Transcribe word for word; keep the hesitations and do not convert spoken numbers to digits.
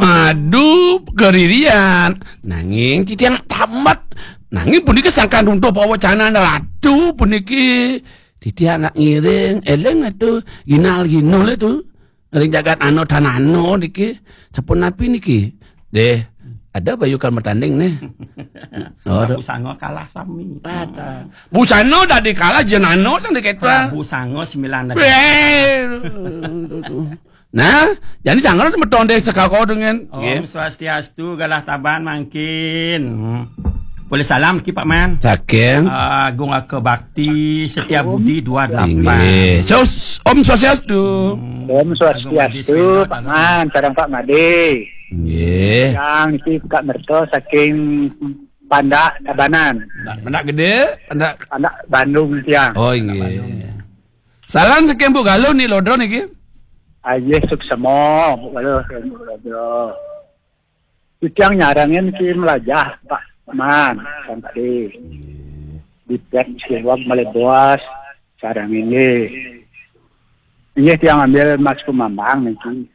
Aduh, karirian. Nanging titiang tamat. Nanging puniki sangkan runtuh pawacanan ratu puniki. Titiang nak ngiring, eling atuh, ginal-ginul atuh. Ring jagat ano tanano niki. Sapunapi niki? Deh, ada bayu kal matanding nih. Oh, ada. Busanga kalah sami. Tata. Busana dadi kalah jenano sang diketa. Busanga sembilan dadi. Eh, Nah, jani sangkan semeton deh sekako dengan. Om Swastiastu, galah taban mangkin. Hmm. Boleh salam ki Pak Man. Saking. Ah, Agung Aka Bakti, Setia Budi dua delapan. Inggih. So, s- Om Swastiastu. Hmm. Om Agung Adi Swastiastu, Sunda Pak Taman. Man, sareng Pak Made. Inggih. Yang niki Kak Merto saking Pandak Tabanan. Nah, Pandak Gede, Pandak. Pandak Bandung tiang. Oh, inggih. Salam saking Bu Galuh ni Lodro niki. Ayah suksema, Bu Galuh, Bu Galuh. Titiang nyarengin ki melajah, Pak Man, kan tadi. Di pet siwag malebos, sareng ini. Inggih tiang ambil Mas Kumambang niki.